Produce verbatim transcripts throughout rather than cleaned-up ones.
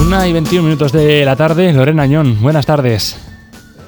Una y veintiún minutos de la tarde. Lorena Añón, buenas tardes.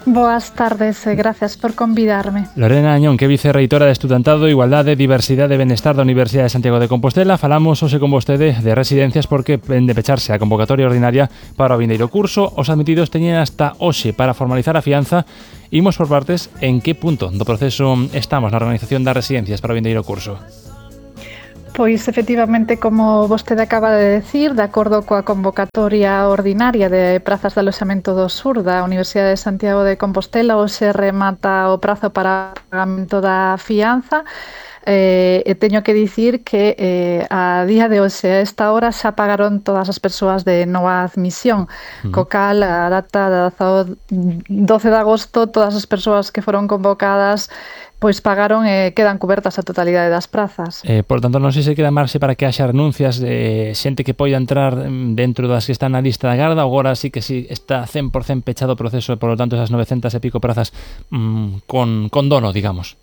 Boas tardes e gracias por convidarme. Lorena Añón, que é vicerreitora de Estudantado, Igualdade, Diversidade e Benestar da Universidade de Santiago de Compostela. Falamos hoxe con vostede de residencias porque ven de pecharse a convocatoria ordinaria para o vindeiro curso. Os admitidos teñen hasta hoxe para formalizar a fianza. Imos por partes. En que punto do proceso estamos na organización das residencias para o vindeiro curso? Pois, efectivamente, como vostede acaba de decir, de acordo coa convocatoria ordinaria de prazas de aloxamento do Sur da Universidade de Santiago de Compostela, hoxe remata o prazo para o pagamento da fianza. Eh, e teño que dicir que eh, a día de hoxe, a esta hora, xa pagaron todas as persoas de nova admisión, uh-huh. co cal a data de doce de agosto todas as persoas que foron convocadas pois pagaron e quedan cubertas a totalidade das prazas. Eh, por tanto, non sei se queda marxe para que haxa renuncias de xente que poida entrar dentro das que están na lista de agarda, ou agora sí que sí está cen por cento pechado o proceso e, por lo tanto, esas novecentas e pico prazas mmm, con, con dono, digamos.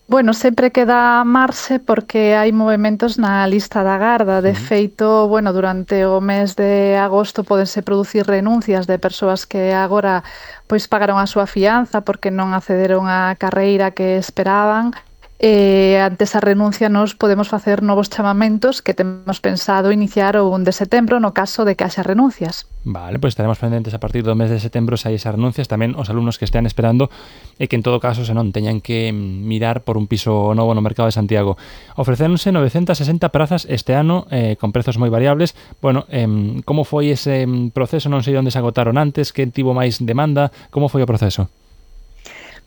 Bueno, sempre queda marxe porque hai movementos na lista da garda. De feito, bueno, durante o mes de agosto podense producir renuncias de persoas que agora pois pagaron a súa fianza porque non accederon á carreira que esperaban. E ante esa renuncia nos podemos facer novos chamamentos que temos pensado iniciar o un de setembro no caso de que haxa renuncias. Vale, pois estaremos pendentes a partir do mes de setembro se hai esas renuncias, tamén os alumnos que estean esperando e que en todo caso se non teñan que mirar por un piso novo no mercado de Santiago. Ofrecéronse novecentas e sesenta prazas este ano eh, con prezos moi variables. Bueno, eh, como foi ese proceso? Non sei onde se agotaron antes, que tivo máis demanda, como foi o proceso?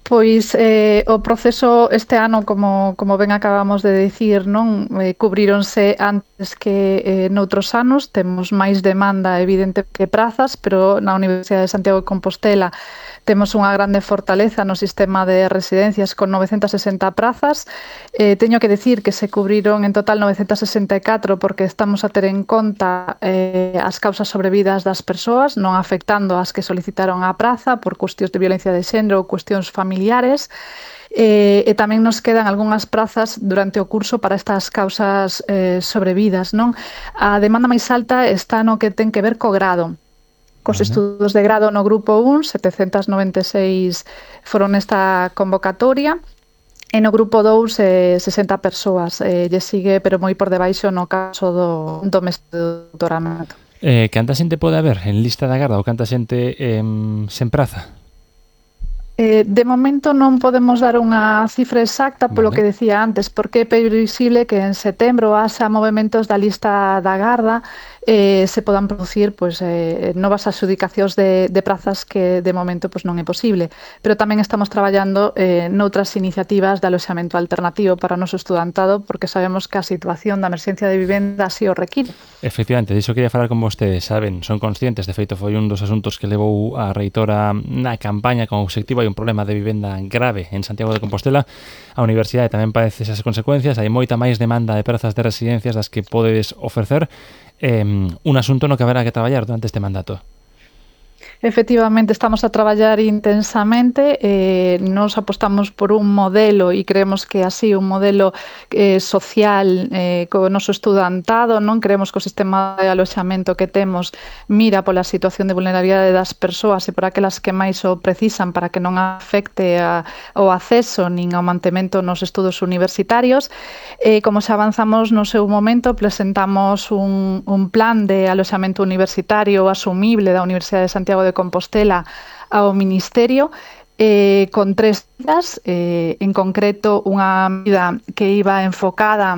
Pois eh, o proceso este ano, como, como ben acabamos de dicir, non eh, cubríronse antes que eh, noutros anos. Temos máis demanda evidente que prazas, pero na Universidade de Santiago de Compostela temos unha grande fortaleza no sistema de residencias con novecentas e sesenta prazas. Eh, teño que dicir que se cubriron en total novecentas e sesenta e catro porque estamos a ter en conta eh, as causas sobrevidas das persoas, non afectando as que solicitaron a praza por cuestións de violencia de xénero ou cuestións familiares. E, e tamén nos quedan algunhas prazas durante o curso para estas causas eh, sobrevidas, non? A demanda máis alta está no que ten que ver co grado. Cos uh-huh. estudos de grado no grupo un, setecentas noventa e seis foron nesta convocatoria, e no grupo dous, eh, sesenta persoas. Eh, lle sigue, pero moi por debaixo no caso do, do mestre de doutoramento. Eh, canta xente pode haber en lista de agarda ou canta xente eh, sen praza? Eh, de momento non podemos dar unha cifra exacta polo vale. que decía antes, porque é previsible que en setembro haxa movimentos da lista da garda eh, se podan producir pois, eh, novas adxudicacións de, de prazas que de momento pois, non é posible. Pero tamén estamos traballando eh, noutras iniciativas de aloxamento alternativo para o noso estudantado, porque sabemos que a situación da emerxencia de vivenda así o require. Efectivamente, diso quería falar con vostedes, saben, son conscientes, de feito foi un dos asuntos que levou a reitora na campaña con o obxectivo. Hai un problema de vivenda grave en Santiago de Compostela. A universidade tamén padece esas consecuencias, hai moita máis demanda de prazas de residencias das que podedes ofrecer. Eh, un asunto no que haberá que traballar durante este mandato. Efectivamente, estamos a traballar intensamente, eh, nos apostamos por un modelo e creemos que así un modelo eh, social eh, co noso estudantado, non creemos que o sistema de aloxamento que temos mira pola situación de vulnerabilidade das persoas e por aquelas que máis o precisan para que non afecte a, o acceso nin ao mantemento nos estudos universitarios. Eh, como xa avanzamos no seu momento, presentamos un, un plan de aloxamento universitario asumible da Universidade de Santiago de Compostela ao Ministerio eh, con tres medidas, eh, en concreto unha medida que iba enfocada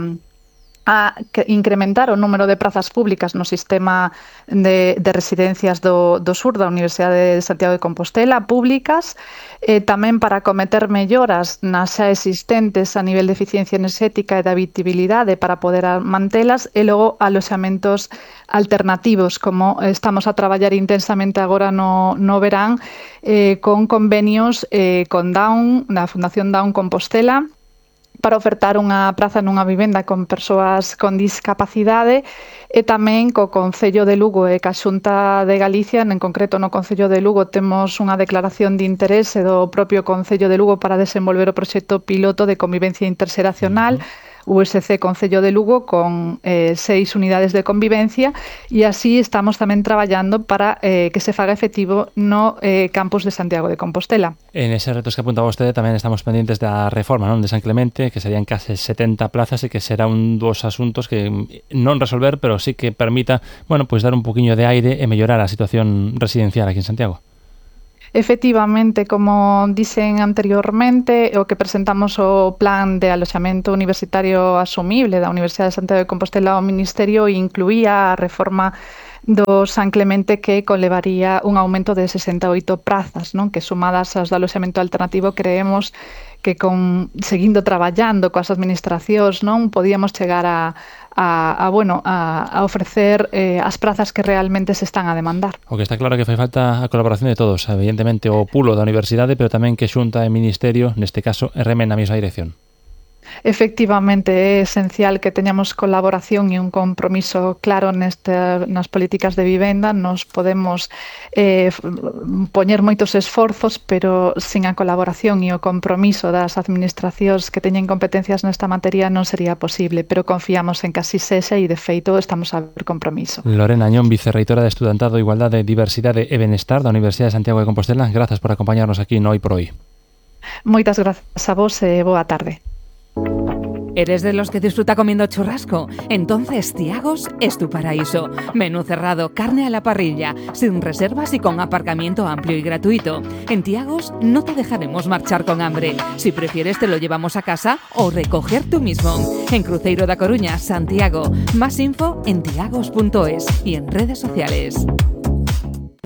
a incrementar o número de prazas públicas no sistema de, de residencias do, do sur da Universidade de Santiago de Compostela, públicas, eh, tamén para cometer melloras nas xa existentes a nivel de eficiencia enerxética e de habitabilidade para poder mantelas, e logo aloxamentos alternativos, como estamos a traballar intensamente agora no, no verán, eh, con convenios eh, con Down, da Fundación Down Compostela, para ofertar unha praza nunha vivenda con persoas con discapacidade, e tamén co Concello de Lugo e ca Xunta de Galicia. En concreto no Concello de Lugo temos unha declaración de interese do propio Concello de Lugo para desenvolver o proxecto piloto de convivencia interxeracional, U S C Concello de Lugo con eh, seis unidades de convivencia e así estamos tamén traballando para eh, que se faga efectivo no eh, campus de Santiago de Compostela. En ese retos que apuntaba vostede tamén estamos pendientes da reforma, non, de San Clemente, que serían case setenta plazas e que será un dos asuntos que non resolver, pero sí que permita, bueno, pues dar un poquinho de aire e mellorar a situación residencial aquí en Santiago. Efectivamente, como dixen anteriormente, o que presentamos o plan de aloxamento universitario asumible da Universidade de Santiago de Compostela ao Ministerio incluía a reforma do San Clemente que conlevaría un aumento de sesenta e oito prazas, non? Que sumadas aos do aloxamento alternativo creemos que con seguindo traballando coas administracións, non, podíamos chegar a A, a, bueno, a, a ofrecer eh, as prazas que realmente se están a demandar. O que está claro que fai falta a colaboración de todos, evidentemente o pulo da universidade, pero tamén que Xunta e Ministerio, neste caso, remen na mesma dirección. Efectivamente, é esencial que teñamos colaboración e un compromiso claro neste, nas políticas de vivenda. Nos podemos eh, poñer moitos esforzos, pero sin a colaboración e o compromiso das administracións que teñen competencias nesta materia non sería posible, pero confiamos en que así sexa e, de feito, estamos a ver compromiso. Lorena Añón, vicerreitora de Estudantado, Igualdade, Diversidade e Benestar da Universidade de Santiago de Compostela, grazas por acompañarnos aquí no Hoy por Hoy. Moitas grazas a vos e boa tarde. ¿Eres de los que disfruta comiendo churrasco? Entonces Tiagos es tu paraíso. Menú cerrado, carne a la parrilla, sin reservas y con aparcamiento amplio y gratuito. En Tiagos no te dejaremos marchar con hambre. Si prefieres te lo llevamos a casa o recoger tú mismo. En Cruzeiro da Coruña, Santiago. Más info en tiagos punto es y en redes sociales.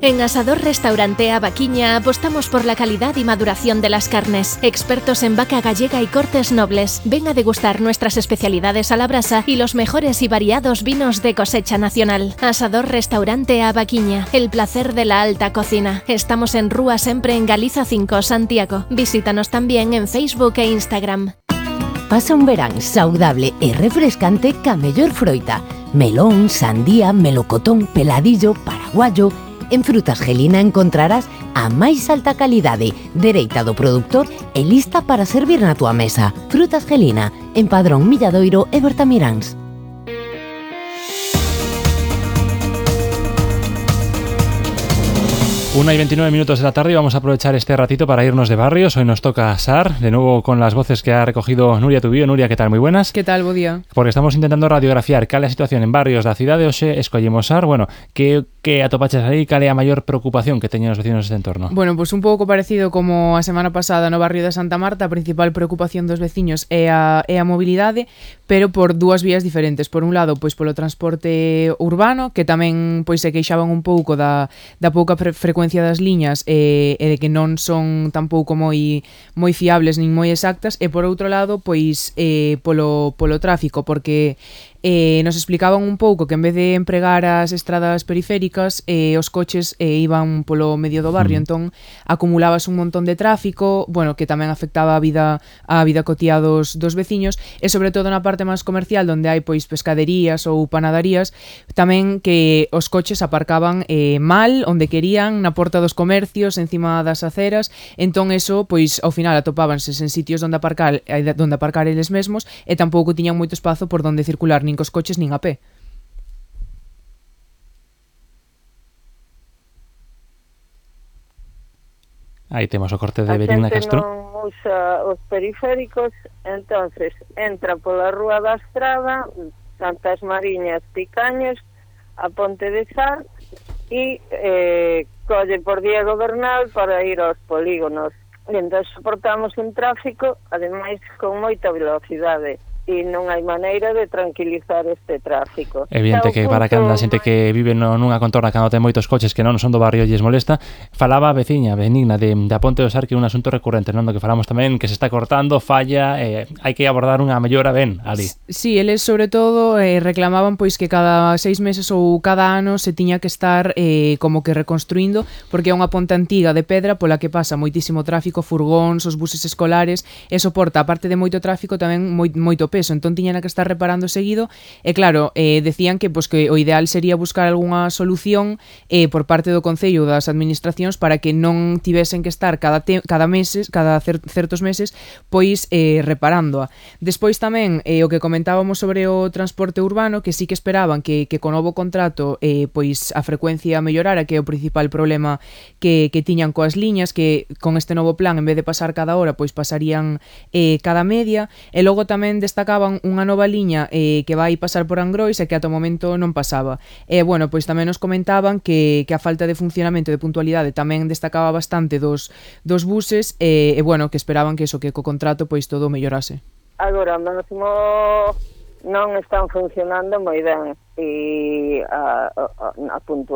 En Asador Restaurante A Vaquiña apostamos por la calidad y maduración de las carnes. Expertos en vaca gallega y cortes nobles. Ven a degustar nuestras especialidades a la brasa y los mejores y variados vinos de cosecha nacional. Asador Restaurante A Vaquiña. El placer de la alta cocina. Estamos en Rúa Sempre en Galiza cinco, Santiago. Visítanos también en Facebook e Instagram. Pasa un verán saudable e refrescante ca mellor froita. Melón, sandía, melocotón, peladillo, paraguayo. En Frutas Gelina encontrarás a máis alta calidade, dereita do produtor e lista para servir na tua mesa. Frutas Gelina, en Padrón Milladoiro e Bertamiráns. Una y veintinueve minutos de la tarde y vamos a aprovechar este ratito para irnos de barrios. Hoy nos toca SAR, de nuevo con las voces que ha recogido Nuria Tubío. Nuria, ¿qué tal? Muy buenas. ¿Qué tal? Bo día. Porque estamos intentando radiografiar cal é a situación en barrios da cidade. Hoxe escollemos SAR. Bueno, que, que atopaches aí? Cal é a maior preocupación que teñen os vecinos deste entorno? Bueno, pues un pouco parecido como a semana pasada no barrio de Santa Marta. A principal preocupación dos veciños é a, é a mobilidade, pero por dúas vías diferentes. Por un lado, pois polo transporte urbano, que tamén pois se queixaban un pouco da, da pouca fre- frecuencia das liñas e, e de que non son tampouco moi moi fiables nin moi exactas, e por outro lado, pois eh, polo, polo tráfico, porque eh, nos explicaban un pouco que en vez de empregar as estradas periféricas, eh, os coches eh, iban polo medio do barrio, mm. entón acumulábase un montón de tráfico, bueno, que tamén afectaba a vida a vida cotiá dos, dos veciños, e sobre todo na parte máis comercial, onde hai pois pescaderías ou panadarías, tamén que os coches aparcaban eh, mal, onde querían, na porta dos comercios, encima das aceras, entón eso, pois ao final atopábanse en sitios onde aparcar, onde aparcar eles mesmos, e tampouco tiñan moito espazo por onde circular, nin cos coches nin a pé. Aí temos o corte de Benigna Castro. Non usa os periféricos, entonces entra pola Rúa da Estrada, Santas Mariñas, Picaños, a Ponte de Sar e eh, colle por Diego Bernal para ir aos polígonos. E entón soportamos un tráfico, ademais con moita velocidade, e non hai maneira de tranquilizar este tráfico. Evidente que para cando a xente que vive no, nunha contorna cando ten moitos coches que non son do barrio e lles molesta, falaba a veciña Benigna de, de a Ponte do Sar, que é un asunto recurrente, non? Do que falamos tamén, que se está cortando, falla, eh, hai que abordar unha mellora ben ali. Sí, eles sobre todo eh, reclamaban pois que cada seis meses ou cada ano se tiña que estar eh, como que reconstruindo, porque é unha ponte antiga de pedra pola que pasa moitísimo tráfico, furgóns, os buses escolares, e soporta, aparte de moito tráfico, tamén moi, moito peso. peso, entón tiñan que estar reparando seguido, e claro, eh, decían que, pues, que o ideal sería buscar algunha solución eh, por parte do Concello ou das administracións para que non tivesen que estar cada, te cada meses, cada cer certos meses, pois eh, reparándoa. Despois tamén, eh, o que comentábamos sobre o transporte urbano, que sí que esperaban que, que co novo contrato eh, pois a frecuencia mellorara, que é o principal problema que, que tiñan coas liñas, que con este novo plan, en vez de pasar cada hora, pois pasarían eh, cada media, e logo tamén destacaban unha nova liña eh, que vai pasar por Angrois e que ata o momento non pasaba. E, bueno, pois tamén nos comentaban que, que a falta de funcionamento de puntualidade tamén destacaba bastante dos, dos buses e, e, bueno, que esperaban que eso, que co contrato pois todo mellorase. Agora mesmo non están funcionando moi ben e a, a, a puntualidade